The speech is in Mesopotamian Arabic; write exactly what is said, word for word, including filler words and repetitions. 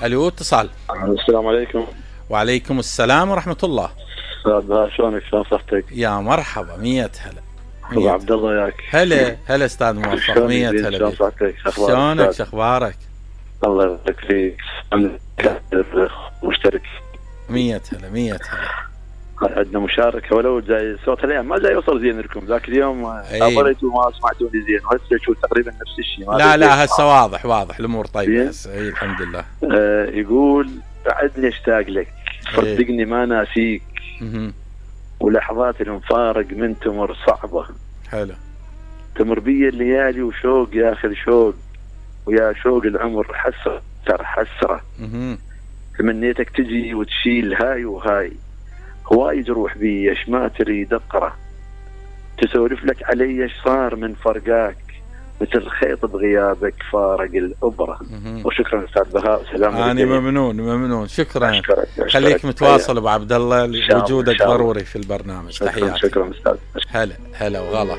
الو اتصال. السلام عليكم. وعليكم السلام ورحمة الله. استاذ شلونك؟ شلون صحتك؟ يا مرحبا، مية هلا. ابو عبد الله ياك. هلا هلا استاذ موفق، مية هلا. شلون صحتك؟ شلونك؟ شخبارك؟ الله يبارك فيك. مشترك. مية هلا مية هلا. عندنا مشاركة ولو جاي صوت اليوم ما جاي يوصل زين لكم، ذاك اليوم اضريتوا ما سمعتوني زين، وهسه شو تقريبا نفس الشيء. لا لا هسه واضح واضح الامور طيبة هسه. اي الحمد لله. آه يقول بعدني اشتاق لك، صدقني ما ناسيك، ولحظات المفارق من تمر صعبة. حلو. تمر بي الليالي وشوق يا اخي الشوق، ويا شوق العمر حسرة ترى حسرة. تمنيتك تجي وتشيل هاي وهاي، هواي جروح بي ايش ما تريد اقرا، تسولف لك علي ايش صار من فرقاك، مثل خيط بغيابك فارق الابره. وشكرا استاذ بهاء، سلام عليكم. انا ممنون ممنون، شكرا. أشكرك. خليك متواصل ابو عبد الله، وجودك ضروري في البرنامج. تحياتي. شكرا استاذ. هلا هلا وغلا.